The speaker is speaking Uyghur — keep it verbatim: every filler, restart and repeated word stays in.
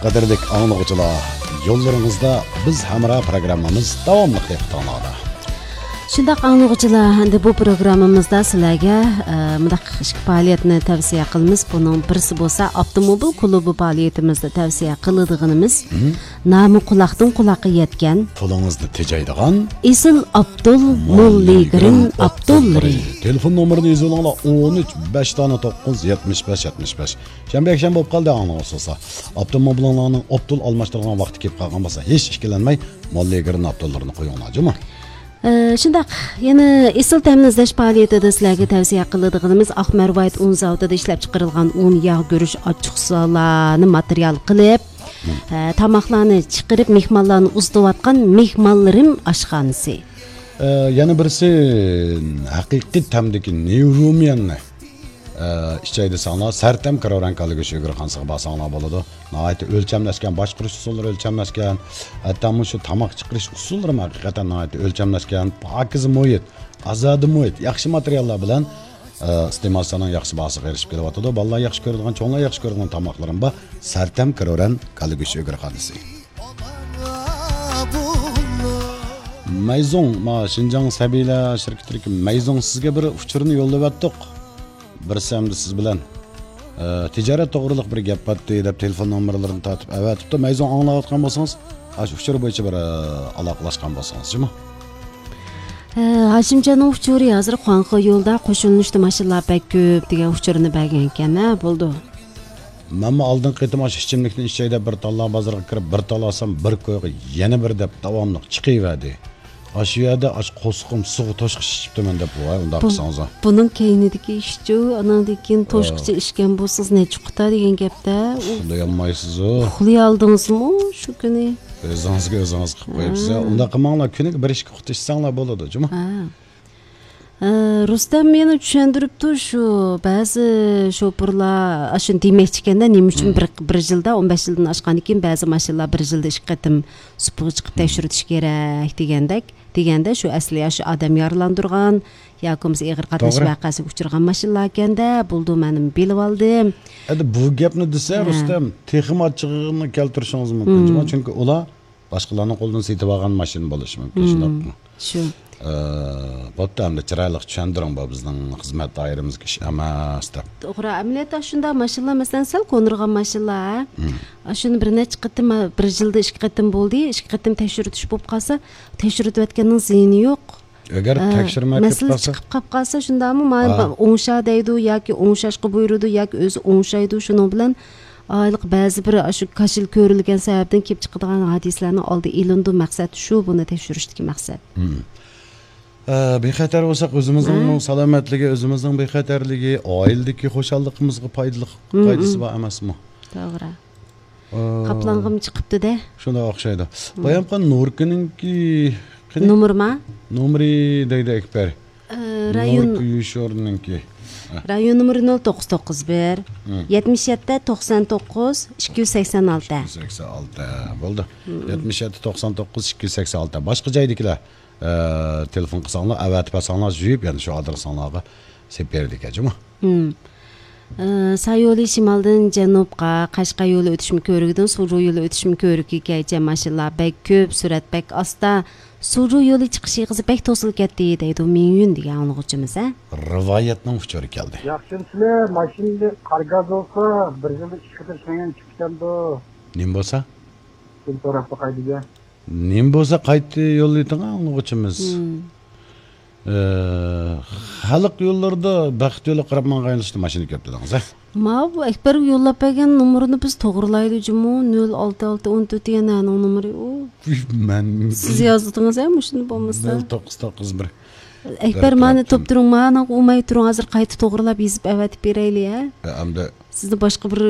قەدىرلىك ئاڭلىغۇچىلار، يوللىرىڭىزدا بىز ھەمراھ پروگراممىمىز داۋاملىق دىققىتىڭلاردا. شۇنداق ئاڭلىغۇچىلار، ئەمدى بۇ پروگراممىمىزدا سىلەرگە، ئە، مۇنداق ئىككى پائالىيەتنى تەۋسىيە قىلىمىز. بۇنىڭ بىرسى بولسا ئاپتوموبىل كلۇبى پائالىيىتىمىزدە تەۋسىيە قىلىدىغىنىمىز، مم، نامى قۇلاقتىن قۇلاققا يەتكەن، پۇلىڭىزنى تېجەيدىغان ئېسىل ئابدۇل موللىگرىن ئابدۇللىرى. تېلېفون نومۇرىنى يېزىۋېلىڭلار، ئون ئۈچ، بەش دانە توققۇز، يەتمىش بەش، يەتمىش بەش. شەنبە، يەكشەنبە بولۇپ قالدى، ئاڭلىغۇسىزلار. ئاپتوموبىلىڭلارنىڭ ئوبدان ئالماشتۇرىدىغان ۋاقتى كېلىپ قالغان بولسا، ھېچ ئىككىلەنمەي، موللىگرىن ئابدۇللىرىنى قويۇڭلار، جۇمۇ. ئە، شۇنداق، يەنە ئېسىل تەمىنى ئىزدەش پائالىيىتىدە سىلەرگە تەۋسىيە قىلىدىغىنىمىز ئاق مەرۋايىت ئۇن زاۋۇتىدا ئىشلەپ چىقىرىلغان ئۇن، ياغ، گۈرۈچ، ئاچچىقسۇلارنى ماتېرىيال قىلىپ، ئە، تاماقلارنى چىقىرىپ، مېھمانلارنى ئۇزىتىۋاتقان مېھمانلىرىم ئاشخانىسى. ئە، يەنە بىرسى ھەقىقىي تەمدىكى نيۇ روميەننى ئە، ئىچەي دېسەڭلار، سەرتەم كىرورەن كاللىگۈش ئۆگرىخانىسىغا بارساڭلار بولىدۇ. ناھايىتى ئۆلچەملەشكەن، باشقۇرۇش ئۇسۇللىرى ئۆلچەملەشكەن. ھەتتا مۇشۇ تاماق چىقىرىش ئۇسۇللىرىمۇ ھەقىقەتەن ناھايىتى ئۆلچەملەشكەن. پاكىز مۇھىت، ئازادە مۇھىت، ياخشى ماتېرىياللار بىلەن، ئە، ئىستېمالچىلارنىڭ ياخشى باھاسىغا ئېرىشىپ كېلىۋاتىدۇ. بالىلار ياخشى كۆرىدىغان، چوڭلار ياخشى كۆرىدىغان تاماقلىرىم بار. سەرتەم كىرورەن كاللىگۈش ئۆگرىخانىسى. مەيزۇڭ، ما، شىنجاڭ سەبىيلەر شىركىتىدىكى مەيزۇڭ سىزگە بىر ئۇچۇرنى يوللىۋەتتۇق. بىرسى ئەمدى سىز بىلەن، ئە، تىجارەت توغرىلىق بىر گەپ باتتى دەپ تېلېفون نومۇرلىرىنى تارتىپ ئەۋەتىپتۇ. مەيزۇڭ ئاڭلاۋاتقان بولسىڭىز، ئاشۇ ئۇچۇر بويىچە بىر، ئە، ئالاقىلەشكەن بولسىڭىز، جۇمۇ. ھە، ھاشىمجاننىڭ ئۇچۇرى ھازىر خۇاڭخې يولىدا قوشۇلۇشتا ماشىنىلار بەك كۆپ دېگەن ئۇچۇرنى بەرگەنكەن، ھە، بولدى. مەنمۇ ئالدىنقى قېتىم ئاشۇ ئىچىملىكنى ئىچەي دەپ بىر تاللا بازىرىغا كىرىپ، بىر تال ئالسام، بىر كويغا يەنە بىر دەپ داۋاملىق چىقىۋەردى. ئاشۇ يەردە ئاشۇ قورسىقىم سۇغا توشقۇچە ئىچىپتىمەن دەپ، ۋاي، ئۇنداق بۇ-، قىلساڭىز. بۇنىڭ كەينىدىكى ئىشچۇ، ئۇنىڭدىن كېيىن توشقۇچە ئىچكەن بولسىڭىز، نەچچە قۇتا دېگەن گەپتە. ئۇ ئۇخلىيالمايسىزۇ. ئۇخلىيالدىڭىزمۇ شۇ كۈنى؟ ئۆزىڭىزگە ئۆزىڭىز قىلىپ قويۇپسىز. ھە. ئۇنداق قىلماڭلار، كۈنىگە بىر ئىككى قۇتا ئىچسەڭلار بولىدۇ، جۇمۇ. ھە. ئە، رۇستەم يەنە چۈشەندۈرۈپتۇ، شۇ بەزى شوپۇرلار ئاشۇنى دېمەكچىكەندە، نېمە ئۈچۈن بىر، بىر يىلدا، ئون بەش يىلدىن ئاشقاندىن كېيىن بەزى ماشىنىلار بىر يىلدا ئىككى قېتىم سۇپىغا چىقىپ تەكشۈرتۈش كېرەك دېگەندەك، دېگەندە، شۇ ئەسلى يا شۇ ئادەم يارىلاندۇرغان ياكى بولمىسا ئېغىر قاتناش ۋەقەسىگە ئۇچرىغان ماشىنىلار ئىكەندە، بولدى، مەنمۇ بىلىۋالدىم. ئەدە بۇ گەپنى دېسە، ھە. رۇستەم، تېخىمۇ ئاچچىقىنى كەلتۈرۈشىڭىز مۇمكىن، جۇمۇ، چۈنكى ئۇلار باشقىلارنىڭ قولىدىن سېتىۋالغان ماشىنا بولۇشى مۇمكىن، شۇنداقمۇ؟ شۇ. ئە، بوپتۇ، ئەمدى چىرايلىق چۈشەندۈرۈڭ، بۇ بىزنىڭ خىزمەت دائىرىمىزدىكى ئىش ئەمەس دەپ. توغرا، ئەمەلىيەتتە شۇنداق ماشىنىلار، مەسىلەن، سەل قونۇرغان ماشىنىلار، ھە؟ شۇنى بىر نەچچە قېتىم، بىر يىلدا ئىككى قېتىم بولدى، ئىككى قېتىم تەكشۈرتۈش بولۇپ قالسا، تەكشۈرتۈۋەتكەننىڭ زىيىنى يوق. ئەگەر ئە، تەكشۈرمەي كېتىپ مەسىلىسى قالسا؟ چىقىپ قاپ قالسا، شۇنداقمۇ؟ ما-، ھە. ئوڭشا دەيدۇ ياكى ئوڭشاشقا بۇيرۇيدۇ ياكى ئۆزى ئوڭشايدۇ. شۇنىڭ بىلەن ئايلىق بەزى بىر ئاشۇ كاشىلا كۆرۈلگەن سەۋەبتىن كېلىپ چىقىدىغان ھادىسىلەرنىڭ ئالدى ئېلىنىدۇ. مەقسەت شۇ، بۇنى تەكشۈرۈشتىكى مەقسەت. مم. ئە، بىخەتەر بولساق، ئۆزىمىزنىڭ ھە. سالامەتلىكى، ئۆزىمىزنىڭ بىخەتەرلىكى، ئائىلىدىكى خۇشاللىقىمىزغا پايدىلىق، مم، قايدىسى مم. بار ئەمەسمۇ؟ توغرا. ئاپلانغىمۇ چىقىپتۇ-دە. شۇنداق ئوخشايدۇ. بايام خان نۇركىنىڭكى قېنى؟ نومۇرىما؟ نومۇرى دەيدۇ ئەكبەر. ئە، رايون، نۇركى يوشۇرنىڭكى. رايون نومۇرى نۆل توققۇز توققۇز بىر، يەتمىش يەتتە توقسان توققۇز ئىككى يۈز سەكسەن ئالتە. ئىككى يۈز سەكسەن ئالتە. بولدى. يەتمىش يەتتە توقسان توققۇز ئىككى يۈز سەكسەن ئالتە. باشقا جايدىكىلەر، ئە، تېلېفون قىلساڭلار، ئەۋەتىپ بەرسەڭلار، يۇيۇپ، يەنە شۇ ئادرېسىڭلارغا سېلىپ بېرىدىكەن، جۇمۇ. ئە، ساي يولى شىمالدىن جەنۇبقا، قەشقەر يولى ئۆتۈشمە كۆۋرۈكىدىن سۇلجۇ يولى ئۆتۈشمە كۆۋرۈكىگىچە ماشىنىلار بەك كۆپ، سۈرئەت بەك ئاستا. سۇلجۇ يولى چىقىش ئېغىزى بەك توسۇلۇپ كەتتى، دەيدۇ مىڭيۈن دېگەن ئاڭلىغۇچىمىز، ھە؟ رىۋايەتنىڭ ئۇچۇرى كەلدى. ياخشىمۇسىلەر؟ ماشىنىدە قار گاز بولسا، بىر يىلدا ئىككى قېتىم سىڭگەن چىقىدىكەندۇ. نېمە بولسا؟ شۇنى سوراپ باقاي دېدى. نېمە بولسا قايتا يوللىتىڭ ئاڭلىغۇچىمىز. مم. ئە، خەلق يوللىرىدا بەخت يولىغا قاراپ ماڭغان ئىشتا ماشىنا كەپتۇ دەڭزە. ماۋۇ ئەكبەر يوللاپ بەرگەن نومۇرنى بىز توغرىلايلى جۇمۇ، نۆل ئالتە ئالتە ئون تۆت دېگەن نەنىڭ نومۇرى ئۇ؟ مەن سىز يازدىڭىز ھە مۇشۇنى بولمىسا. نۆل توققۇز توققۇز بىر. ئەكبەر مانا توپ تۇرۇڭ، مانا ئۇماي تۇرۇڭ، ھازىر قايتا توغرىلاپ يېزىپ ئەۋەتىپ بېرەيلى ھە. ئە، ئەمدى سىزنى باشقا بىر